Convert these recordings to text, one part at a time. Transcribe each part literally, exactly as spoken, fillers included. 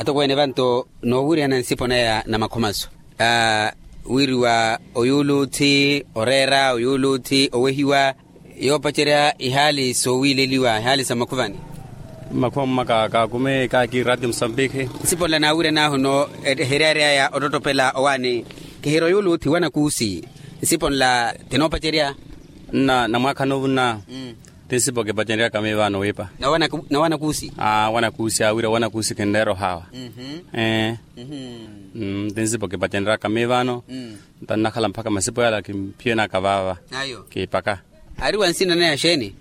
Atokweene vanto noowiriyana nsipo naya namakhomaso, wiriwa oyuuluuthi oreera oyuuluuthi owehiwa, yoopacerya ihaali soowiileliwa ihaali sa makhuvani. Makhuva mmaka kaakume kaaki ratio musambikhi. Nsipo nla naawiryan'ahu no, eheryaaryaya ottottopela owaani. Kihira oyuuluuthi wanakuusi. Nsipo nla tinoopacerya. Nna namwaakha noovunna. Ti nsipo kipacereryaka miivaano wiipa. Na wanakuusi. Aa wanakuusi aawira wanakuusi kinreera ohaawa. Ee. Ti nsipo kipacereryaka miivaano. Nta nnakhala mpakha masipo yala kimphiyenaka vaava. Kiipaka. Aari wa nsina naya xeeni?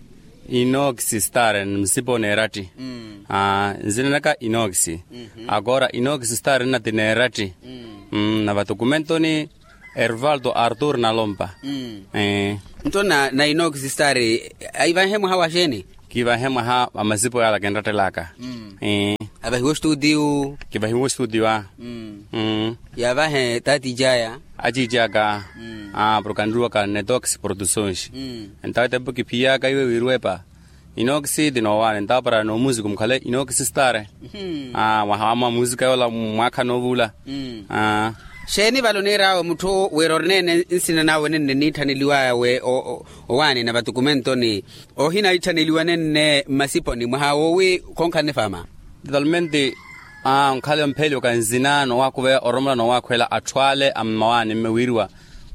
Inokisi stare nsipo neeratti. Aa nsina naka inokisi. Akoora inokisi stare nna ti neeratti. Na vatukumentoni ervaldo artur nalompa. Nto na inokisi stare aivanhe mwaha wa xeeni? Kiivanhe mwaha wa masipo yala kinrattelaka. Avahiwe ostuutiyu. Kivahiwe ostuutiyu a. Yaavahe taatiici aya. Aciici aka. Porke anruwaka netox produsons. Entawo etempo kiphiyaka iwe wiirwepa. Inokisi ti noowaani entawo para noomusiku mukhale inokisi stare. Mwaha wamwa musika yoola mwaakha noovula. Xeeni vale oniir'awe mutthu wira ori neene nsina nawe nenne niitthaneliwaya we owaani na vatukumentoni. Ohina itthaneliwa nenne mmasiponi mwaha woowi khonkhalani faama. Totalmente. Onkhale ompheliwaka nzina noowakhuveya oromola noowakhwela atthu ale a mmawaani mme wiiriwa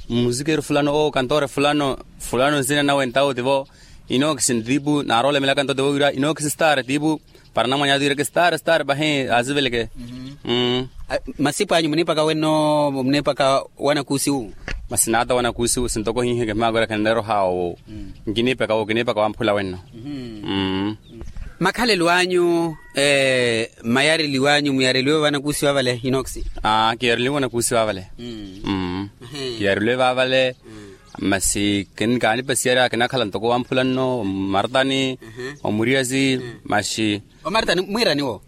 mmusikeru fulano owo kantoore fulano fulano nzina nawe ntawo tivo. Inokisi ntiipu naaroolemelaka nto tivo wiiriwa inokisi stare tiipu. Para namwanya atiireke stare stare pahi aasiveleke. Masipo anyu muniipaka wenno muniipaka wanakuusi wu? Masi naata wanakuusi wu sintoko hiihi kihimaako ira khinreera ohaawa owo. Nkiniipaka owo kiniipaka wamphula wenno. Makhalelo anyu mayareliwanyu muyareliwe vanakuusi vavale inoksi? Aa kiyareliwe vanakuusi vavale. Kiyareliwe vavale. Masi kaanipasiyarya kinakhala ntoko wamphula nno omartani. Omuriyasi. Masi omartani mwiiraniwo?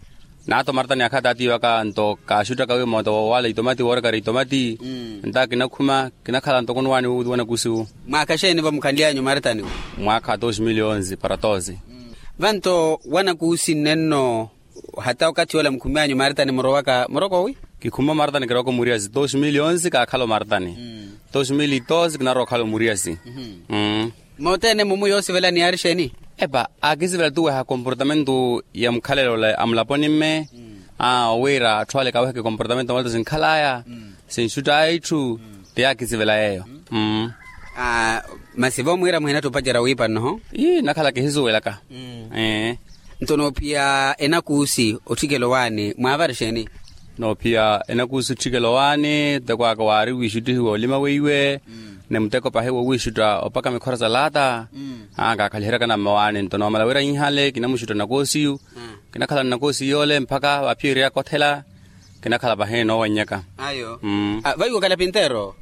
Naata omartani akha taatiiwaka nto kaaxuttaka wi moota wowala itomati woorekara itomati. Nta kinakhuma kinakhala ntoko nwaani wu wanakuusi wu. Mwaakha xeeni vamukhanly'anyu martani wu? Mwaakha dos mil onzi para doze. Vanto wanakuusi nnenno hata okathi ola mukhumi'anyu martani murowaka muroko wi? Kikhuma omartani kirowaka omuriyasi dos mil onzi kaakhala omartani. Dos mil doze kinarowa okhala omuriyasi. Moothene mumu yoosivelani yaari xeeni? Epa aakisivela tuweha komportamentu ya mukhalelo ole a mulaponi mme. Aa owiira atthu ale kaweha kikomportamentu amalato sinkhalaya sinxutt'aya itthu. Ti yaakisivela yeeyo. Masi voomwiira muhinatta opacerya wiipa nnoho? Ii nakhala kihisuwelaka. Nto noophiya enakuusi otthikela owaani mwaavari xeeni? Noophiya enakuusi otthikela owaani muteko aka waari wiixuttihiwa olima weiwe. Ni muteko pahi wowiixutta opaka mikhora sa laata. Aa kaakhaliheryaka nammawaani nto noomala wira inhale kinamuxutta nakoosiyu. Kinakhala nnakoosiyu yoole mpakha vaaphiyerya kothela. Kinakhala pahi noowannyaka. Ayo. Vaiwo kalapintero?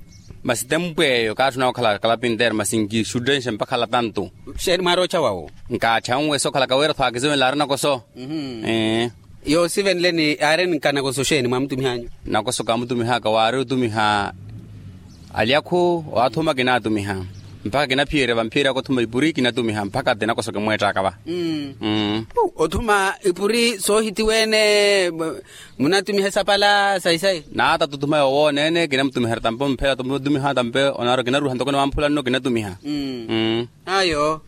Masi tempu eyo kaatthuna okhala kalapintero masi nkixuttenxe mpakha latantu. Xeeni mwaari ottxawa wo? Nkattxanwe sokhalaka wira tho aakisivenle aari nakoso. Yoosivenleni aari nkanakoso xeeni mwaamutumih'anyu? Nakoso kaamutumih'aka waari otumiha alyakhu owathuma kinaatumiha. Mpakha kinaphiyerya vamphiyerya akothuma ipuri kinatumiha mpakha ti nakoso kimweett'aka va. Othuma ipuri soohitiweene. Munatumiha esapala sayi sayi? Naata tuthuma yoowoneene kinamutumiha tampe omphela tumiha tampe onaaro kinaruha ntoko niwamphula nno kinatumiha. Ayo.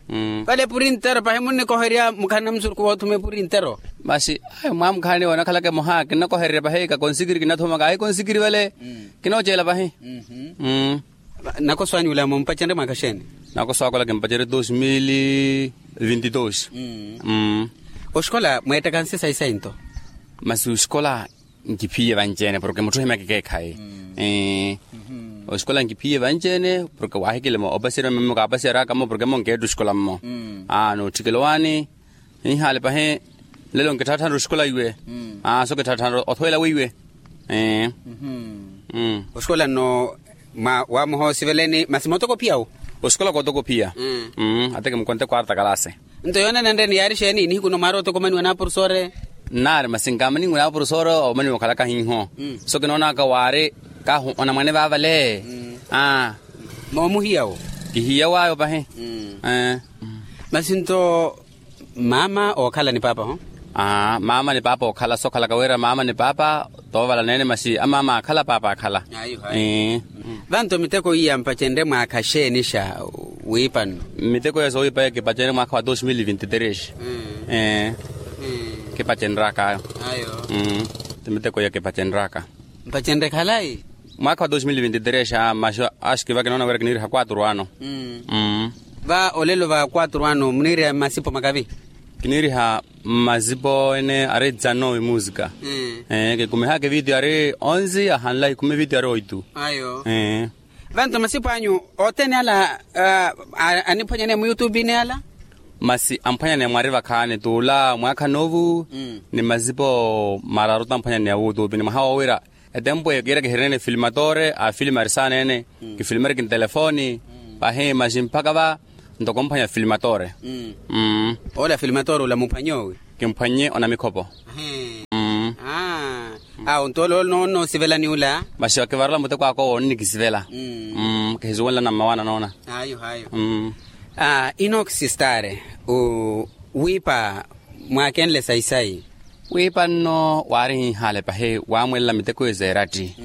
Vale epuri ntero pahi munnikoherya mukhalana musurukhu woothuma epuri ntero? Masi ayo mwaamukhalani wonakhalaka emoha kinnakohererya pahi kakonsikiri kinathuma kaahi konsikiri vale. Kinooceela pahi. Nakoso anyu ula mumpacerye mwaakha xeeni? Nakoso aka ola kimpacerye dos mil vinti dos. Oxikola mweettaka nsi sayi sayi nto? Masi oxikola nkiphiye vanci-ene porke mutthu ohimyaka ekeekhayi. Oxikola nkiphiye vanci-ene porke waahikilemo opasiyerya mmo kaapasiyeryaka mmo porke mmo nkeetta oxikola mmo. Aa nootthikela owaani. Ninhaale pahi nlelo nkitthaatthanre oxikola iwe. Aa so kitthaatthanre othowela weiwe. Oxikola nno waamuha osiveleni masi mootokophiya wo? Oxikola kootokophiya. Atekemukwa nte quarta kalasi. Nto yoonanenreni yaari xeeni nihiku nno mwaari otokomaniwa n'apurusoore? Nnaari masi nkaamaniwe n'apurusoore omaniwa okhalaka hiiho. So kinoonaka waari kahu onamwane vaavale. Aa moomuhiya wo? Kihiya waayo pahi. Masi nto maama ookhala ni paapa ho? Aa mama ni papa okhala sokhalaka wira mama ni papa, toovala neene masi amama akhala papa akhala. Vanto miteko iya mpacenrye mwaakha xeeni xa wiipa nno? Miteko iya soowiipa iya kipacenrye mwaakha wa dos mil vinti tres. Kipacenryaka ayo. Ti miteko iya kipacenryaka. Mpacenrye khalayi? Mwaakha wa dos mil vinti tres a maxi, axi kiva kinoona wira kiniiriha quatro ano. Va olelo va quatro ano muniiriha mmasipo makavi? Kiniiriha mmasipo ene ari dzano imuusika. Kikumihaka evitiyo ari onze ahanla kikumi evitiyo ari oitu. Ayo. Vanto masipo anyu othene ala aniphwanyaneya muyutupini ala? Masi amphwanyaneya mwari vakhaani t'ula mwaakha noovu ni masipo mararu tamphwanyaneya wutupini mwaha wowira. Etempo ekiira kihirene ni filimatore afilimarisaaneene. Kifilimariki ntelefoni pahi maxi mpaka va ntoko mphwanya filimatore. Ola filimatore ula muphwanye owi? Kimphwanye onamikhopo. Awo nto ole onnoosivela ni ula? Maxi okivarela muteko aka owo onnikisivela. Kihisuwenlana mmawaana noona. Ayo ayo. Inoxi stare wiipa mwaakenle sayi-sayi. Wiipa nno waari hiihale pahi waamwelela miteko ize eratti.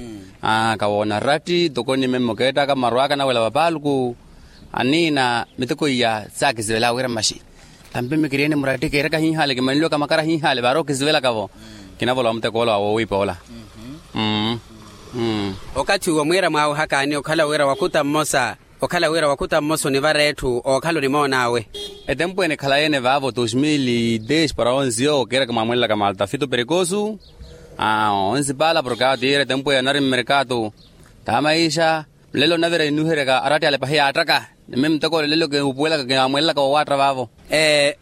Kawoona ratti toko ni memme okeettaka mmaru aka anawela vapaaluku. Aniina miteko iya saakisivela wira maxi tampi mikiriyeni muratti keeraka hiihale kimanliwaka makara hiihale vaari okisivelaka-vo. Kinavola wa muteko ola wa woowiipa ola. Okathi uwo mwiira mwaawihakaani okhala wira wakhuta mmosa okhala wira wakhuta mmosa onivara etthu ookhala onimoon'awe. Etempo ene ekhalayi-ene vaavo dos mil e dez para onze yo kiiraka mwaamwelelaka malta fito perikosu. Onzipala porke awo tiira etempo eyo anari mmerkatu. Taamaixa nlelo nnavira ninuheryaka aratti ale pahi yaattaka. Nime muteko ole nlelo kiupuwelaka kiamwelelaka wowaatta vaavo.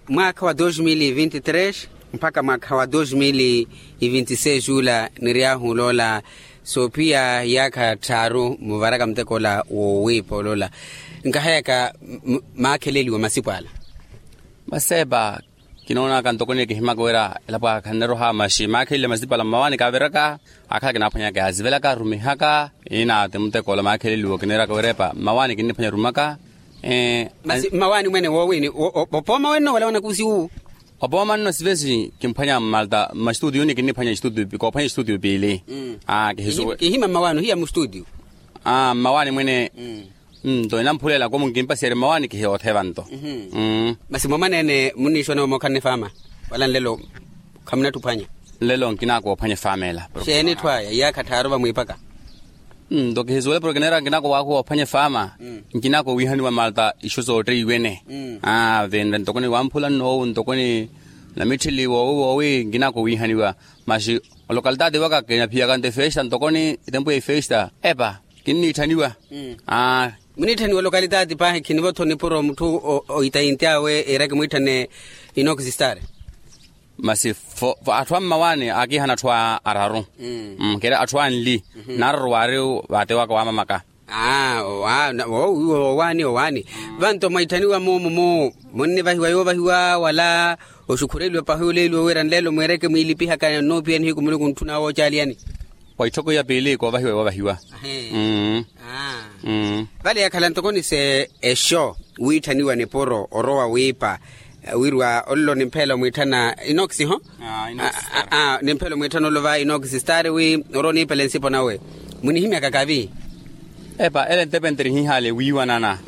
Mwaakha wa dos mil e vinti tres mpakha mwaakha wa dos mil e vinti seis ula niry'ahu oloola soophiya iyaakha tthaaru muvaraka muteko ola woowiipa olola. Nkaheyaka maakheleliwa masipo ala? Maseepa kinoonaka ntoko ni kihimaka wira elapo aka khanneroha maxi maakheleliwa masipo ala mmawaani kaaviraka. Akhala kinaaphwanyaka yasivelaka rumihaka. Ina ti muteko ola maakheleliwa kiniiraka wirepa mmawaani kinniphwanya rumaka. Masi mmawaani mwene woowini opooma wenno wala wanakusi wu? Opooma nno sivesi kimphwanya mmalta mmastudio ni kinniphwanya istudio koophwanya istudio piili. Kihima mmawaani ohiya mustudio. Mmawaani mwene. Nto enamphulelaka omu nkimpasiyerye mmawaani kihi otheva nto. Masi moomwaneene munniixonewa mookhanne faama wala nlelo khamunattuphwanya? Nlelo nkinaakowa ophwanya efaama ela. Xeeni etthu aya iyaakha tthaaru vamwiipaka? Nto kihisuwele porke neera nkinaakowa ophwanya efaama. Nkinaakowa wiihaniwa malta ixu sootteiwene. Vinre ntoko ni wamphula nnoowu ntoko ni namitthili woowi woowi nkinaakowa wiihaniwa. Maxi olokalitati waka kinaphiyaka nto efesta ntoko ni etempo ya efesta epa kinniitthaniwa. Muniitthaniwa olokalitati paahi khinivo-tho nipuro mutthu oitainti awe iira kimwiitthane. Inoxi stare. Masi atthu a mmawaani aakiihana atthu araru. Keri atthu anli naararu waari vaate waka waamamaka. Aa owaani owaani. Vanto mwaitthaniwa moomo munnivahiwa yoovahiwa wala oxukhureliwa pahi oleeliwa wira nlelo mwiireke mwiilipihaka nnoophiya nihiku muluku ntthuna woocaaliyani? Wa itthoko iya piili koovahiwa yoovahiwa. Vale yakhala ntoko ni se exo wiitthaniwa nipuro orowa wiipa. Wirwa ollo nimphela omwiitthana inoxi ho. Nimphela omwiitthana ollo va inoxi stari wi orowa oniipela ensipo nawe. Munihimyaka kavi? Epa ele entepenteri hiihale wiiwanana.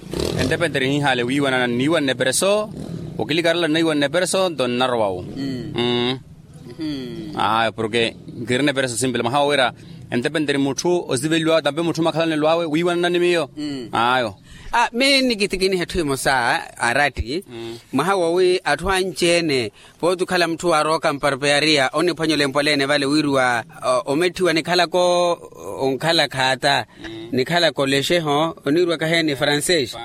Entepenteri hiihale wiiwanana nniiwanne pereso. Okilikarela nnaiwanne pereso nto nnarowa wu. Ayo porke nkirina epereso simpela mwaha wowira entepenteri mutthu osiveliwawe tampe mutthu makhalanelo awe wiiwanana ni miyo. Ayo. Miyo nnikitikiniha etthu emosa aratti. Mwaha wowi atthu anci-ene pooti okhala mutthu waarooka mparpeyariya oniphwanya olempwaleene vale wiriwa ometthiwa nikhalaka onkhala khaata. Nikhalaka olexeho oniirwaka heeni francês.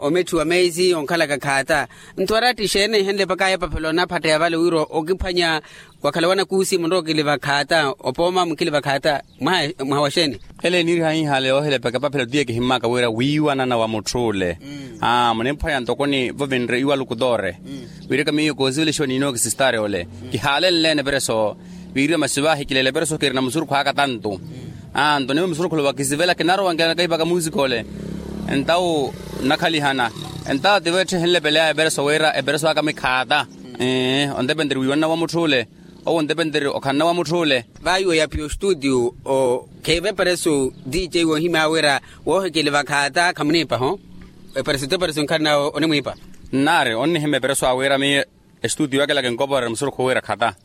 Ometthiwa meisi onkhalaka khaata. Nto aratti xeeni ehenle epakaya epapelo onaphatteya vale wira okiphwanya wakhala wanakuusi munrowa okiliva khaata opooma mukiliva khaata. Mwaha wa xeeni? Ele eniiriha hiihale yoohelepeka epaphelo tiye kihimmaka wira wiiwanana wa mutth'ule. Muniphwanya ntoko ni vovinre iwaluku toore. Wiireke miyo koosivelixiwa ni inoxi stari ole. Kihaalenle-ene epereso. Viiriwa masi vaahikilela epereso kirina musurukhu aka tantu. Nto nivo musurukhule wakisivela kinarowa nkinakaipaka muusika ole. Entawu nnakhalihana. Entawu tivo etthu ehenlepeleyaya epereso wira epereso aka mikhaata. Ee, ontepenteri wiiwanna wa mutth'ule. Owo ontepenteri okhanna wa mutth'ule. Vaayi oyapiya ostuutiyu. Khiive eperesu dj woohimya wira woohikeliva khaata khamuniipa ho? Eperesu t'eperesu nkhalanawe onimwiipa. Nnaari onnihimya eperesu awira miyo. Estuutiyo ake laka enkoporera musurukhu wira khata.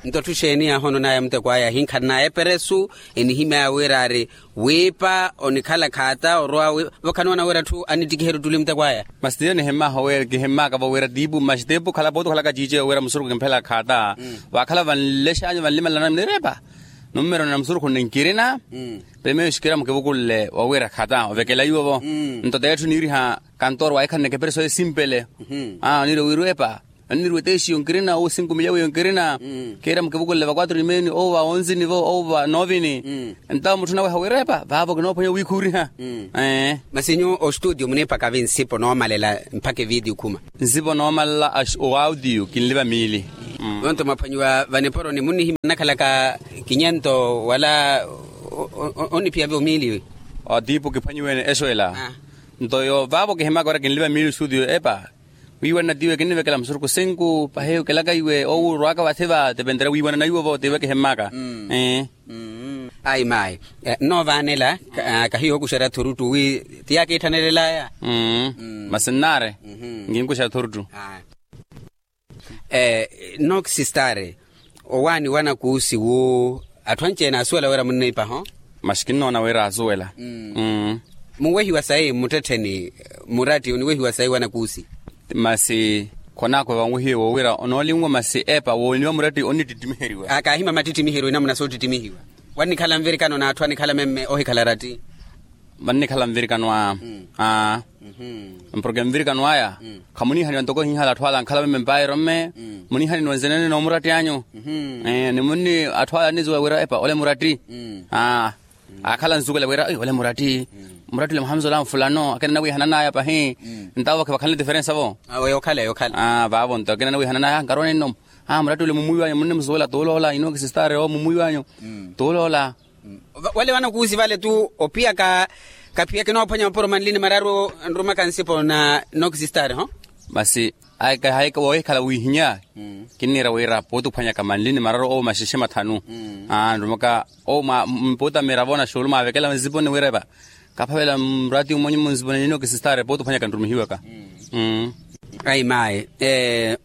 Nto tthu xeeni yaahoononaya muteko aya hinkhalanaye eperesu. Enihimya wira ari wiipa onikhala khaata orwa wi. Vo khanoona wira atthu anittikiherya ottuli muteko aya. Masi tiyo nihimmaaho wira kihimmaka vo wira tiipu masi tiipu khala pooti okhalaka ciiciyo wira musurukhu kimphela khaata. Waakhala vanlexanyu vanlimalananyu munirepa. Nummerona musurukhu ninkirina. Pele meyo xikhira mukivukulle wawira khata ovekela iwo vo. Nto t'etthu niiriha kantooro waahikhananeke epereso esimpele. Oniiriwa wiirwepa. Oniiriwa eteexiyo nkirina owo sinkumilya wiyo nkirina. Khiira mukivukulle va kwatru nimeeni owo va onzini vo owo va noovini. Ntawo mutthu naweha wiirepa vaavo kinoophwanya wiikhuuriha. Masi nyuwo ostuutiyo muniipaka vi nsipo noomalela mpakha eviitiyo khuma? Nsipo noomalela owautiyo kinliva miili. Yonto mwaphwanyiwa vaniporoni munnihimya nnakhalaka kinyento wala oniphiya vyo miili. Otiipu kiphwanyiwene exweela. Nto yo vaavo kihimaka wira kinliva miili ostuutiyo epa. Wiiwanana tiiwe kinnivekela musurukhu sinku pahi okelaka iwe owo orwaka vathi va tepentere wiiwanana iwo vo tiiwe kihimmaka. Ayi mayi. Nnoovanela kahiyo okuxerya thuruttu wi ti yaakiitthanelelaya. Masi nnaari nkinkuxerya thuruttu. Nnookisistari owaani wanakuusi wu atthu anci-ene asuwela wira munniipa ho? Masi kinnoona wira asuwela. Munwehiwa sayi mmuttettheni muratti oniwehiwa sayi wanakuusi? Masi khonaakhwa vanwehiwe woowira onoolinwa masi epa wooniwa muratti onnittittimiheryiwa. Kaahima mattittimiheryo inamuna soottittimihiwa. Wannikhala nvirikano n'atthu anikhala memme ohikhala ratti. Vannikhala nvirikano aa. Mporke nvirikano aya khamuniihaniwa ntoko hiihala atthu ala ankhala memme mpairo mme. Muniihaniniwa nzenene noomuratti anyu. Ni munni atthu ala annizuwela wira epa ole muratti. Aakhala anzukela wira ole muratti. Muratti ole muhamzola mfulano akina anawiihananaya pahi. Ntawo vakhe vakhanle diferensa vo. Yookhala yookhala. Vaavo nto akina anawiihananaya nkarowa ninno. Muratti ole mumwiiwanyu munnimusuwela tuuloola inookisistari owo mumwiiwanyu. Tuuloola. Wale wanakuusi vale tu opiya ka kapiya kinoophwanya mapuro manli ni mararu nrumaka nsipo na nookisistari ho? Masi woohikhala wiihinya. Kinniira wira pooti ophwanyaka manli ni mararu owo maxexe mathanu. Nrumaka owo mpooti amiravo na xuulu maavekela nsipo ni wirepa. Kaphavela murati umwanyu munsipo ni nookisistari pooti ophwanyaka nrumihiwaka. Ayi mayi.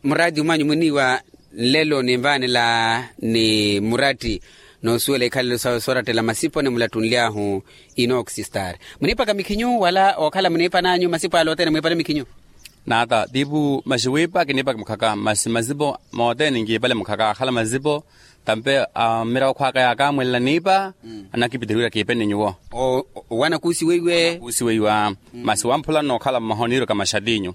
Murati umwanyu muniiwa nlelo ninvaanela ni muratti noosuwela ikhalelo sawe soorattela masipo ni mulattunly'ahu. Inookisistari muniipaka mikhinyu wala ookhala muniipa n'anyu masipo ale othene mwiipale mikhinyu? Naata tiipu masi wiipa kiniipaka mukhaka masi masipo moothene nkiipale mukhaka akhala masipo. Tampe mmiravo khwaka yaakamwelela niipa. Anakipitiriwira kiipe ni nyuwo. Wanakuusi weiwe. Kuusi weiwa. Masi wamphula nnookhala mmaha oniirwaka maxatinyu.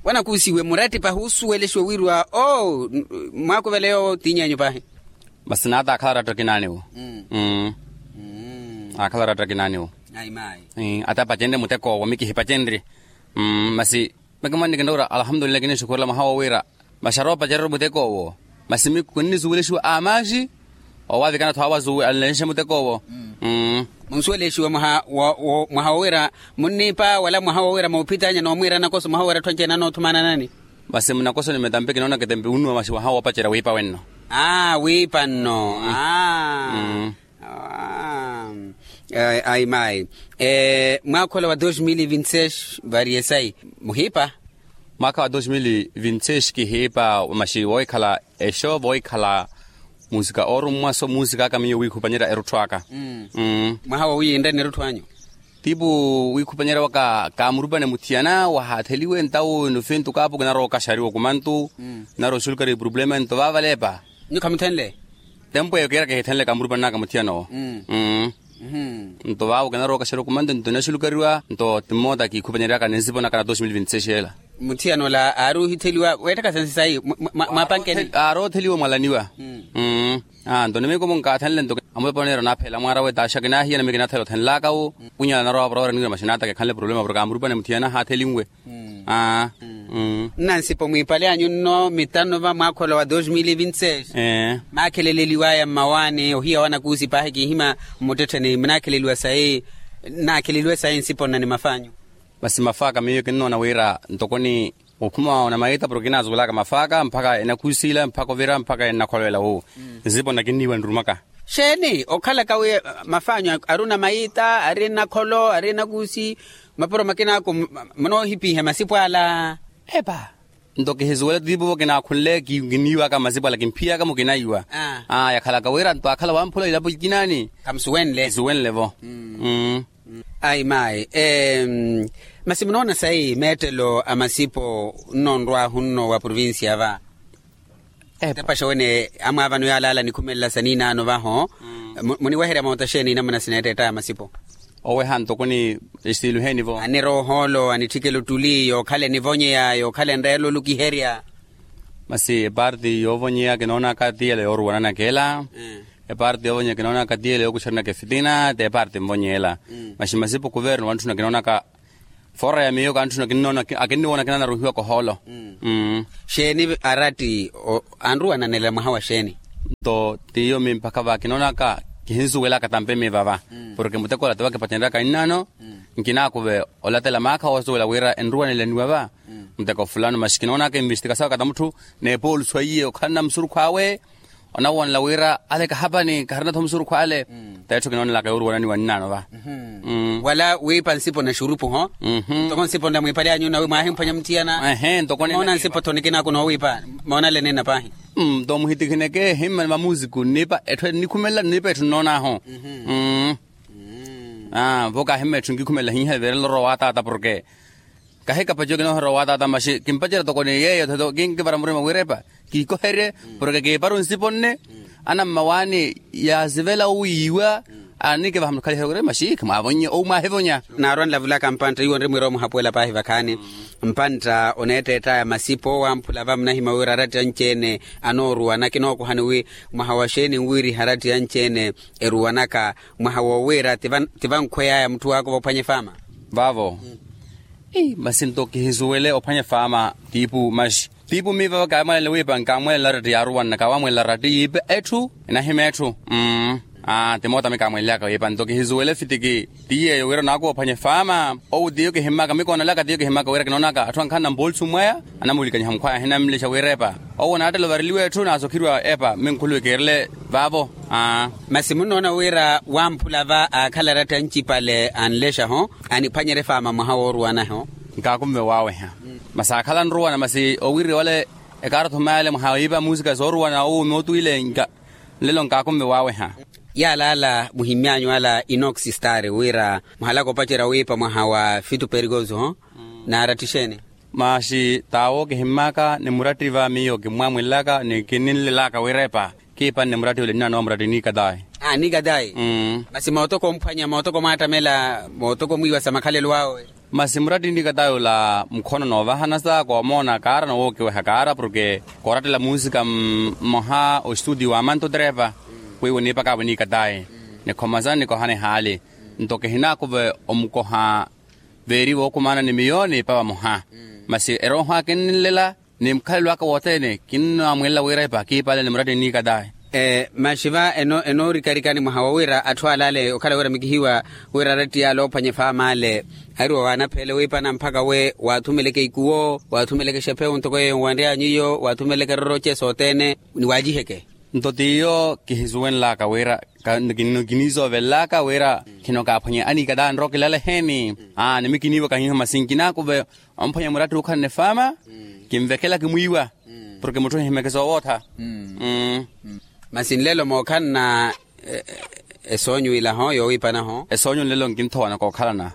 Wanakuusiwe muratti pahi osuwelexiwe wiiriwa oo. Mwaakuvela yoowo tiiny'enyu pahi. Masi naata aakhala oratta kinaaniwo. Aakhala oratta kinaaniwo. Ata epacenrye mutek'owo mikihipacenrye. Masi mikimannikina ora alhamdulillahi kinixukhurela mwaha wowiira. Masi aroopacererya mutek'owo. Masi miku kinnisuwelexiwa amaxi. Owaavikana tho awazuwe anlexe mutek'owo. Munsuwelexiwa mwaha wowiira munniipa wala mwaha wowiira moophitanya noomwiira nakoso mwaha wowiira atthu anci-ene anoothumana nani? Masi munakosoni metampe kinoonaka etempe unnuwa masi mwaha woopacerya wiipa wenno. Aa wiipa nno. Aa. Ayi mayi. Mwaakha ola wa dos mil vinti seis variesai muhiipa. Mwaakha wa dos mil vinti seis kihiipa masi woohikhala exo voohikhala. Musika oorummwa so musika aka miyo wiikhupanyerya erutthu aka. Mwaha woowiiyinreni erutthu anyu? Tiipu wiikhupanyerya waka kaamurupane muthiyana wahaatheliwe ntawo inofintu kaapo kinarowa okaxariwa okumantu. Narowa oxulukariwa epurupulema nto vaavaleepa. Nyu khamuthenle? Tempu eyo kiira kihithenle kaamurupane naka muthiyana owo. Nto vaavo kinarowa okaxariwa okumantu nto inaxulukariwa nto ti mmoota kiikhupanyeryaka ni nsipo naka na dos mil vinti seis ela. Muthiyana ola aari ohitheliwa weetthaka sansi sayi? Mwaapankeni aari otheliwa mwalaniwa. Nto nimiko munkaathenle nto amulopa oneera onaaphela mwaara we taaxa kinaahiya nami kinaathela othenlaka wo. Kunyala narowa vaporawera niwira maxinaataka ekhanle problema porke amurupane muthiyana haathelinwe. Nnansipo mwiipale anyu nno mitano va mwaakha ola wa dos mil vinti seis. Maakheleleliwaya mmawaani ohiya wanakuusi paahi kiihima mmuttettheni munaakheleliwa sayi? Nnaakheleliwe sayi nsipo nna ni maf'anyu? Masi maf'aka miyo kinnoona wira ntokoni Ophuma onamaita porke kinazuwelaka mafaaka mpakha enakhusila mpakha ovira mpakha enakholowela wu. Nsipo nnakinniiwa nrumaka. Xeeni okhalaka wi mafaanyu ari onamaita ari enakholo ari enakusi mapuro makinaku? Munoohipihe masipo ala. Epa, nto kihisuwela tiipuvo kinaakhunle kinniiwaka masipo ala kimphiyaka mukinaiwa. Aa yakhalaka wira nto akhala wamphula ilapo ikinaani. Khamusuwenle. Kisuwenle-vo. Ayi maayi. Masi munoona sayi meettelo a masipo nnoonrwahu nno wa provincia va? Tepaxa wene amwaavano yaalaala nikhumelela saniinaano vaho. Muniweherya moota xeeni inamuna sineetteettaya masipo? Oweha ntoko ni estiilu heeni-vo? Aniroohoolo anitthikela ottuli yookhala enivonyeya yookhala enreela olukiherya. Masi eparti yoovonyeya kinoonaka ti yela yooruwananaka ela. Eparti yoovonyeya kinoonaka ti yela yookuxarinaka efitina ti eparti nvonyeya ela. Masi masipo kuverno wantthuna kinoonaka. Foora ya miyo kantthuna kinnoona akinniwoona kinaanaruhiwaka ohoolo. Xeeni aratti anruwananela mwaha wa xeeni? Nto tiyo mi mpakha va kinoonaka kihinsuwelaka tampe mi vava. Porke muteko ola tivakipaceneryaka innaano. Nkinaakuve olatela maakha woosuwela wira enruwanelaniwa va muteko fulano masi kinoonaka investikasawe kata mutthu. N'epooluso iye okhalana musurukhu awe onawoonela wira ale kahapani kaharina-tho musurukhu ale. T'etthu kinoonelaka yooruwananiwa nnaano va. Wala wiipa nsipo na xurupu ho. Ntoko nsipo nla mwiipale anyu nawi mwaahimphwanya mutthiyana. Ehe ntoko moona nsipo-tho nikinaaku noowiipa. Moonalene na paahi. Nto muhitikhineke ehimma ni mamusiku nniipa etthu ennikhumelela nniipa etthu nnoon'ahu. Aa vo kaahimma etthu nkikhumelela hiiha everela orowa wataata porke kahikapaciwa kinooherya owaataata masi kimpacerya toko ni yeeyo tho kinkivara murima wiirepa. Kikoherye porke kiiparu nsipo nne anammawaani yaasivela owiiwa. Anikivaha mutthukhaliheriwe masi khimwaavonnye ou mwaahivonya. Naarwanlavulaka mpantta iwo nri mwira omuhapuwela paahi vakhaani. Mpantta oneetteett'aya masipo wamphula va munahimya wira aratti anci-ene anooruwana kinookohani wi mwaha wa xeeni nwiriha aratti anci-ene eruwanaka mwaha woowiira ti vankhwey'aya mutthu waakova ophwanya efaama. Vaavo. Masi nto kihisuwele ophwanya efaama tiipu masi tiipu miiva kaamwelela wiipa nkaamwelela aratti yaaruwanna kaawamwelela aratti yiipa etthu enahima etthu. Aa ti moota mi kaamwelelaka wiipa nto kihisuwele fitiki ti yeeyo wira onaakuva ophwanya efaama. Owu tiyo kihimmaka mi koonelaka tiyo kihimmaka wira kinoonaka atthu ankhanna mpoolisu mwaya anamulikanyiha mukhwaya ahinamlexa wiirepa. Owo naattela ovareliwa etthu naasokheriwa epa mi nkhuluwe kiirele vaavo. Aa masi munnoona wira wamphula va aakhala aratti ancipale anlexa-ho aniphwanyerya efaama mwaha wooruwana-ho. Nkaakunve waaweha. Masi aakhala anruwana masi owiirya wale ekaarotho maale mwaha wiipa muusika sooruwana owo mootwiile nlelo nkaakunve waaweha. Yaalaala muhimmyanyu ala inoxi stari wira muhalaka opacerya wiipa mwaha wa fitu perikoso-ho naaratthi xeeni? Masi t'awo kihimmaka ni muratti va miyo kimmwamwelelaka ni kinnilelaka wiirepa kiipanne muratti ole nnaanowa muratti nikatayi. Nikatayi. Masi mootoko omphwanya mootoko mwaattamela mootoko mwiiwa sa makhalelo awe. Masi muratti nikatayi ola mukhono noovahana sa koomoona kaara nowookiweha kaara porke koorattela muusika mmoha ostutio wa manto trepa. Kwiiwa oniipakaawe nikatayi nikhoma sa nikohana ehaali. Nto kihinaakuve omukoha veeri vookumaana ni miyo niipa vamoha. Masi erooho akinnilela ni mukhalelo aka wothene kinnamwelela wiirepa kiipale ni muratti nniikatayi. Masi va enoorikarikani mwaha wowira atthu alaale okhala wira mikihiwa wira aratti yaale oophwanya efaama ale ahiruwa waanapheele wiipana mpakha we waathumeleke ikuwo waathumeleke exephewu ntoko yeeyo nwanry'anyu iyo waathumeleke eroroce sothene ni waaciheke. Nto t'iyo kihisuwenlaka wira kiniisoovelelaka wira khinokaaphwanya aniikatayi anrowa okilala eheeni. Aa ni mi kiniiwaka hiiho masi nkinaakuve omphwanya muratti ookhalana efaama kinvekela kimwiiwa porke mutthu ohihimeke soowootha. Masi nlelo mookhalana esoonyu ila-ho yoowiipana-ho. Esoonyu nlelo nkinthowana kookhalana.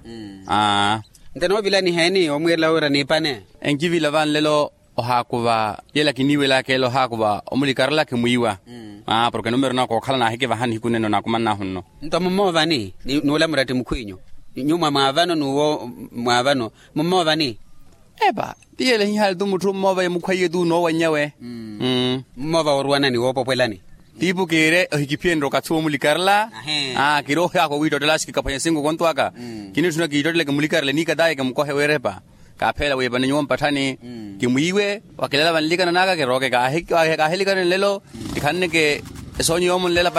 Nte noovilaniha eni omwiirela wira niipane? Enkivila va nlelo ohaakuva yela kiniiwelaka ela ohaakuva omulikarela kimwiiwa. Porke numero na kookhala naahikivaha nihiku nene onaakumannahu nno. Nto mummoovani n'ula muratti mukhw'inyu? Nyuwo mwa mwaavano n'uwo mwaavano mummoovani? Epa ti yela ehihali tu mutthu ommoova ye mukhwaiye tu noowannya we. Mummoova wooruwanani woopopwelani? Tiipu kiire ohikiphiyenrye okathi woomulikarela. Kiire ohiyaaka owiittottela axi kikaphwanya sinko konto aka. Kinitthuna kiittottele kimulikarele niikataye kimukohe wiirepa. Kaapheela wiipane nyuwo mpatthani kimwiiwe. Wakilala vanlikana naka kirooke kaahilikaneni nlelo kikhaneke esoonyo yoomunlela.